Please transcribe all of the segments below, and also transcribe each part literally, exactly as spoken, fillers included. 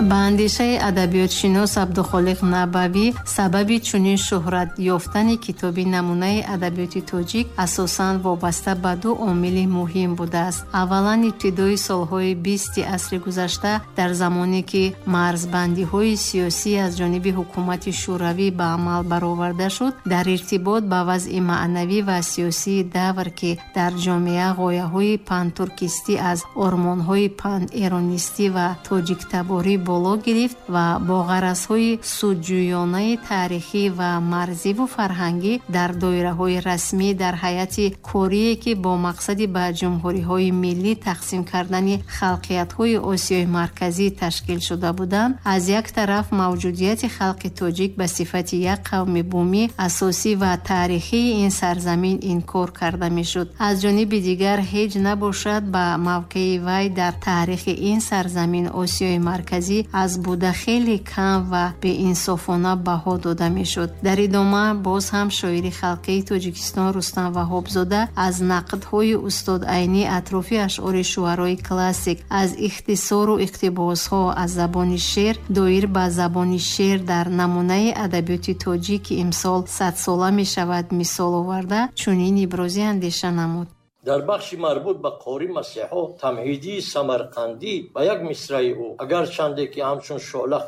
Ба андешаи адабиётшинос Абдухолиқ Набавӣ, сабаби чунин шӯҳрат ёфтани китоби намунаи адабиёти тоҷик асосан вобаста ба ду омили муҳим будааст. Аввалан, ибтидои солҳои бисти асри гузашта, дар замоне ки марзбандиҳои сиёсӣ аз ҷониби ҳукумати Шӯравӣ ба амал бароварда шуд, дар иртибот ба вазъи маънавӣ ва сиёсии давр, ки дар ҷомеа ғояҳои пантуркистӣ аз ормонҳои панэронистӣ ва тоҷиктаборӣ боло гирифт ва бо ғаразҳои судҷӯёнаи таърихӣ ва марзиву фарҳангӣ дар доираҳои расмӣ дар ҳайати корие ки бо мақсади ба ҷумҳуриҳои миллӣ тақсим кардани халқиятҳои Осиёи Марказӣ ташкил шуда буданд, аз як тараф мавҷудияти халқи тоҷик ба сифати як қавми бумӣ, асосӣ ва таърихии ин сарзамин инкор карда мешуд. Аз ҷониби дигар, ҳеҷ набошад ба мавқеи вай дар таърихи ин сарзамин Осиёи Марказӣ аз буда хеле кам ва беинсофона баҳо дода мешуд. Дар идома боз ҳам шоири халқии Тоҷикистон Рустам Ваҳобзода аз нақдҳои устод Айнӣ атрофи ашъори шуарои классик, аз ихтисору иқтибосҳо аз забони шеър доир ба забони шеър дар намунаи адабиёти тоҷик, ки имсол садсола мешавад, мисол оварда, чунин ибрози андеша намуд. Дар бахши марбут ба Қори Масеҳо Тамҳидии Самарқандӣ ба як мисраи ӯ, агарчанде ки ҳамчун шӯъла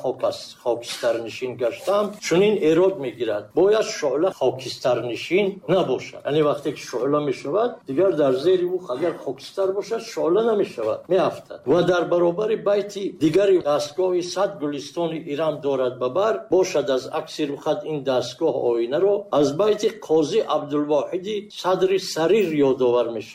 хокистарнишин гаштам, чунин эрод мегирад: бояд шӯъла хокистарнишин набошад. Яъне вақте ки шӯъла мешавад, дигар дар зери ӯ агар хокистар бошад, шӯъла намешавад, меафтад. Ва дар баробари байти дигари дастгоҳи сад гулистони Ирам дорад ба бар, бошад аз акси рухат ин дастгоҳ оинаро, аз байти Қозӣ Абдулвоҳиди Садри Сарир ёдовар мешавад.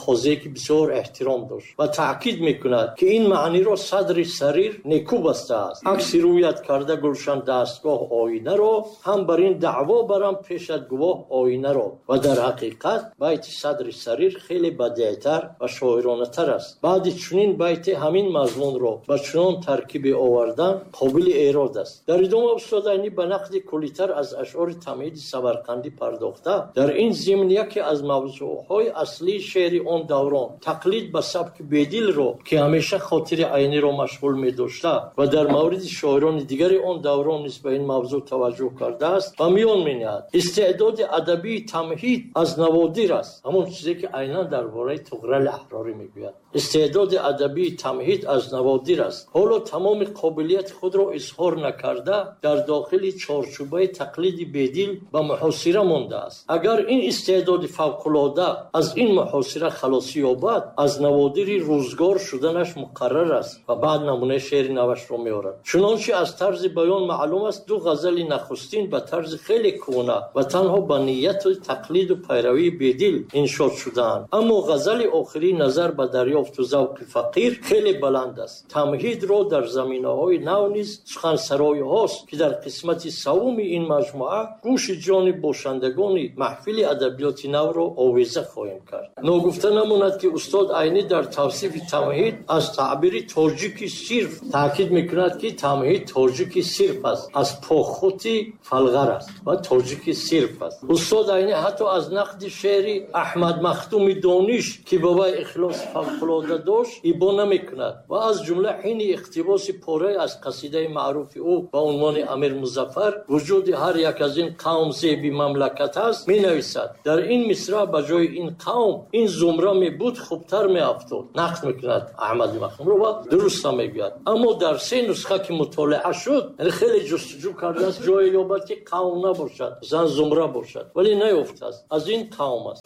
Қозие ки бисёр эҳтиром дошт ва таъкид мекунад ки ин маъниро Садри Сарир неку бастааст. Акси рӯят карда гулшан дастгоҳ оинаро, ҳам бар ин даъво барам пешат гувоҳ оинаро. Ва дар ҳақиқат байти Садри Сарир хеле бадеътар ва шоиронатар аст. Баъди чунин байти ҳамин мазмунро ба чунон таркибе овардан қобили эрод аст. Дар идома устод Айнӣ ба нақди куллитар аз ашъори Тамҳиди Самарқандӣ пардохта, дар ин зимн яке аз мавзӯъҳои аслии шеъри он даврон, тақлид ба сабки Бедилро, ки ҳамеша хотири Айниро машғул медошта ва дар мавриди шоирони дигари он даврон низ ба ин мавзӯъ таваҷҷӯҳ кардааст, ба миён менаҳад. Истеъдоди адабии Тамҳид аз наводир аст, ҳамон чизе ки айнан дар бораи Туғрали Аҳрорӣ мегӯяд. Истеъдоди адабии Тамҳид аз наводир аст. Ҳоло тамоми қобилияти худро изҳор накарда, дар дохили чорчӯбаи тақлиди Бедил ба муҳосира мондааст. Агар ин истеъдоди фавқулода аз ин муҳосира халосӣ ёбад, аз наводири рӯзгор шуданаш муқаррар аст. Ва баъд намунаи шеъри навашро меорад. Чунончи аз тарзи баён маълум аст, ду ғазали нахустин ба тарзи хеле кӯҳна ва танҳо ба нияту тақлиду пайравии Бедил иншод шудаанд. Аммо ғазали охирӣ назар ба дарёфту завқи фақир хеле баланд аст. Тамҳидро дар заминаҳои нав низ сухансароиҳост, ки дар қисмати саввуми ин маҷмӯа гӯши ҷони бошандагони маҳфили адабиёти навро овеза хоҳем кард. Ногуфта намонад ки устод Айнӣ дар тавсифи Тамҳид аз таъбири тоҷики сирф таъкид мекунад, ки Тамҳид тоҷики сирф аст, аз похути фалғар аст ва тоҷики сирф аст. Устод Айнӣ ҳатто аз нақди шеъри Аҳмад Махдуми Дониш, ки ба вай ихлоси фавқулода дошт, ибо намекунад ва аз ҷумла ҳини иқтибоси порае аз қасидаи маъруфи ӯ ба унвони Амир Музаффар вуҷуди ҳар як аз ин қавм зеби мамлакат аст, менависад: дар ин мисра ба ҷои ин қавм ин зумра мебуд, хубтар меафтод. Нақд мекунад Аҳмади Махдумро ва дуруст ҳам мегӯяд. Аммо дар се нусха ки мутолиа шуд, яъне хеле ҷустуҷӯ кардааст, ҷое ёбад ки қавм набошад, зан зумра бошад, вале наёфтааст. Аз ин қавм аст.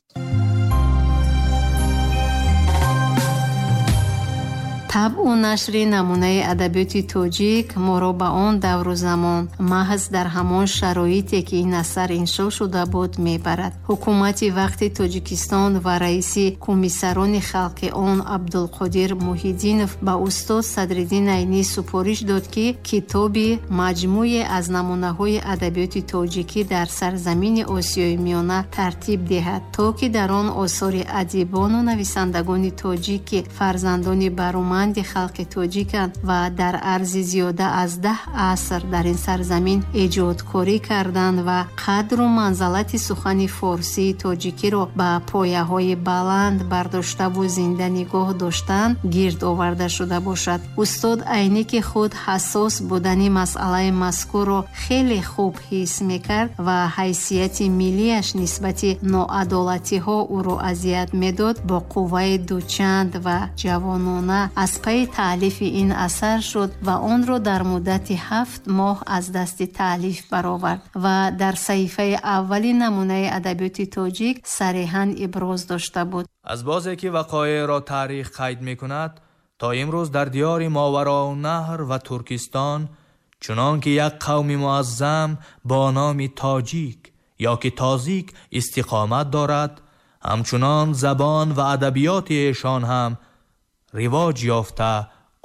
Табъу нашри намунаи адабиёти тоҷик моро ба он давру замон, маҳз дар ҳамон шароите ки ин асар иншо шуда буд, мебарад. Ҳукумати вақти Тоҷикистон ва раиси комиссарони халқи он Абдулқодир Муҳиддинов ба устод Садриддин Айнӣ супориш дод, ки китоби маҷмӯе аз намунаҳои адабиёти тоҷикӣ дар сарзамини Осиёи Миёна тартиб диҳад, то ки дар он осори адибону нависандагони тоҷик, ки фарзандони бароманд обрӯманди халқи тоҷиканд ва дар арзи зиёда аз даҳ аср дар ин сарзамин эҷодкорӣ карданд ва қадру манзалати сухани форсии тоҷикиро ба пояҳои баланд бардоштаву зинда нигоҳ доштанд, гирд оварда шуда бошад. Устод Айнӣ, ки худ ҳассос будани масъалаи мазкурро хеле хуб ҳис мекард ва ҳайсияти миллияш нисбати ноадолатиҳо ӯро азият медод, бо қувваи дучанд ва ҷавонона аз пайи таълифи ин асар шуд ва онро дар муддати ҳафт моҳ аз дасти таълиф баровард ва дар саҳифаи аввали намунаи адабиёти тоҷик сариҳан иброз дошта буд. Аз бозе ки вақоеъро таърих қайд мекунад, то имрӯз дар диёри Мовароуннаҳр ва Туркистон чунон ки як қавми муаззам бо номи тоҷик ё ки тозик истиқомат дорад, ҳамчунон забон ва адабиёти эшон ҳам ривоҷ ёфта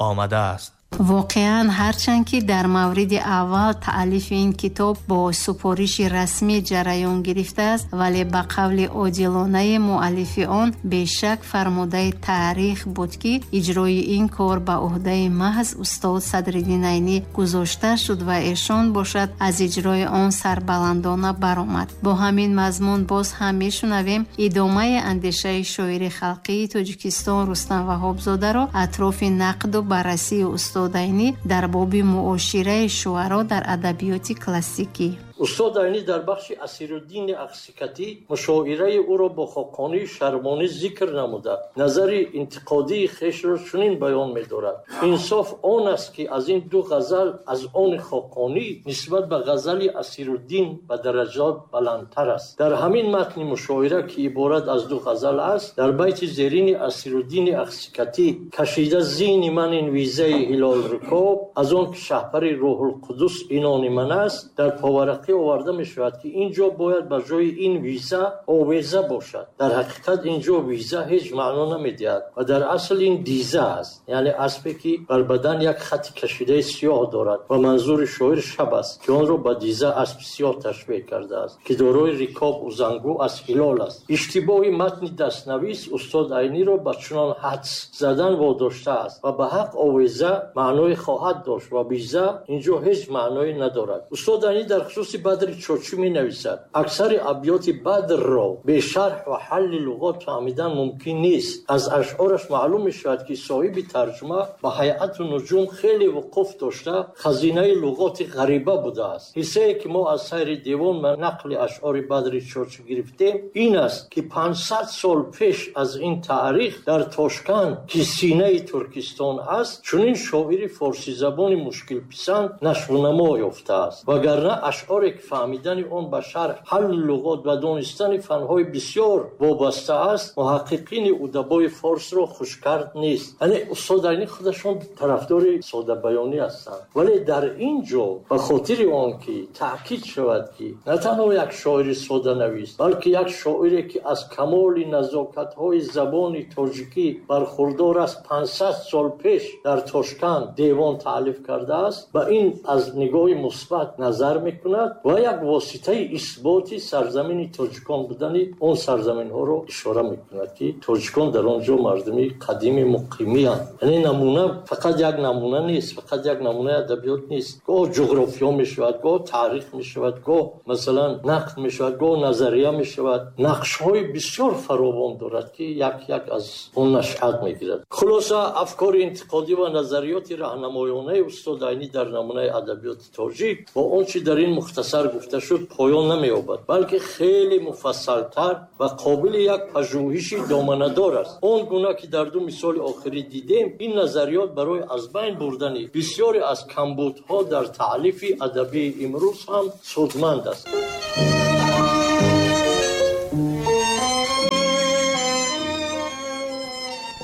омадааст. Воқеан, ҳарчанд ки дар мавриди аввал таълифи ин китоб бо супориши расмӣ ҷараён гирифтааст, вале ба қавли одилонаи муаллифи он бешак фармудаи таърих буд, ки иҷрои ин кор ба ӯҳдаи маҳз устод Садриддин Айнӣ гузошта шуд ва эшон бошад аз иҷрои он сарбаландона баромад. Бо ҳамин мазмун боз ҳам мешунавем идомаи андешаи шоири халқии Тоҷикистон Рустам Ваҳобзодаро атрофи нақду баррасии устод Айнӣ дар боби муошираи шуаро дар адабиёти классикӣ. Устод Айнӣ дар бахши Асируддини Ахсикатӣ мушоираи ӯро бо Хоқонии Шармонӣ зикр намуда, назари интиқодии хешро чунин баён медорад: инсоф он аст, ки аз ин ду ғазал аз они Хоқонӣ нисбат ба ғазали Асируддин ба дараҷот баландтар аст. Дар ҳамин матни мушоира, ки иборат аз ду ғазал аст, дар байти зерини Асируддини Ахсикатӣ кашида зини ман ин визаи ҳилол рукоб, аз он ки шаҳпари Рӯҳулқудус инони ман аст, дар поварақ оварда мешавад, ки ин ҷо бояд ба ҷои ин виза овеза бошад. Дар ҳақиқат ин ҷо виза ҳеҷ маъно намедиҳад ва дар асл ин диза аст, яъне аспе, ки бар бадан як хати кашидаи сиёҳ дорад ва манзури шоир шаб аст, ки онро ба диза аспи сиёҳ ташбеҳ кардааст, ки дорои рикоб узангу аз ҳилол аст. Иштибоҳи матни дастнавис устод Айниро ба чунон ҳадс задан водоштааст ва ба ҳақ овеза маъное хоҳад дошт ва виза ин ҷо ҳеҷ маъное надорад. Устод Айнӣ дар хусуси Бадри Чочӣ менависад: аксари абёти Бадрро бе шарҳ ва ҳалли луғот фаҳмидан мумкин нест. Аз ашъораш маълум мешавад, ки соҳиби тарҷума ба ҳайату нуҷум хеле вуқуф дошта, хазинаи луғоти ғариба будааст. Ҳиссае ки мо аз сайри девон ва нақли ашъори Бадри Чочӣ гирифтем ин аст, ки панҷсад сол пеш аз ин таърих дар Тошканд, ки синаи Туркистон аст, чунин шоири форсизабони мушкилписанд нашвунамо ёфтааст. Вагарна ашъоре ки фаҳмидани он ба шарҳ, ҳалли луғот ва донистани фанҳои бисёр вобаста аст, муҳаққиқини удабои форсро хушкард нест. Яъне устод Айнӣ худашон тарафдори содабаёнӣ ҳастанд, вале дар ин ҷо ба хотири он ки таъкид шавад, ки на танҳо як шоири соданавис, балки як шоире ки аз камоли назокатҳои забони тоҷикӣ бархурдор аст, панҷсад сол пеш дар Тошканд девон таълиф кардааст, ба ин аз нигоҳи мусбат назар мекунад ва як воситаи исботи сарзамини тоҷикон будани он сарзаминҳоро ишора мекунад, ки тоҷикон дар он ҷо мардуми қадими муқимиянд. Яъне намуна фақат як намуна нест, фақат як намунаи адабиёт нест. Гоҳ ҷуғрофиё мешавад, гоҳ таърих мешавад, гоҳ масалан нақд мешавад, гоҳ назария мешавад. Нақшҳои бисёр фаровон дорад, ки як як аз он нашъат мегирад. Хулоса, афкори интиқодӣ ва назариёти раҳнамоёнаи устод Айнӣ дар намунаи адабиёти тоҷик бо он чи дар ин мухтасар гуфта шуд поён намеёбад, балки хеле муфассалтар ва қобили як пажӯҳиши доманадор аст. Он гуна ки дар ду мисоли охирӣ дидем, ин назариёт барои аз байн бурдани бисёре аз камбудҳо дар таълифи адабии имрӯз ҳам судманд аст.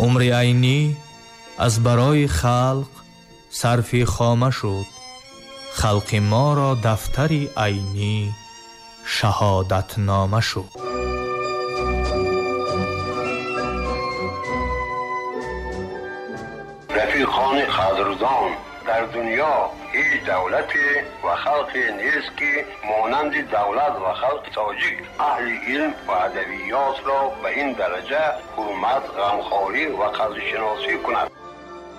Умри Айнӣ аз барои халқ сарфи хома шуд, халқи моро дафтари Айнӣ шаҳодатнома шуд. Рафиқони қадрдон, дар дунё ҳеҷ давлате ва халқе нест, ки монанди давлат ва халқи тоҷик аҳли илм ва адабиётро ба ин дараҷа ҳурмат, ғамхорӣ ва қадршиносӣ кунад.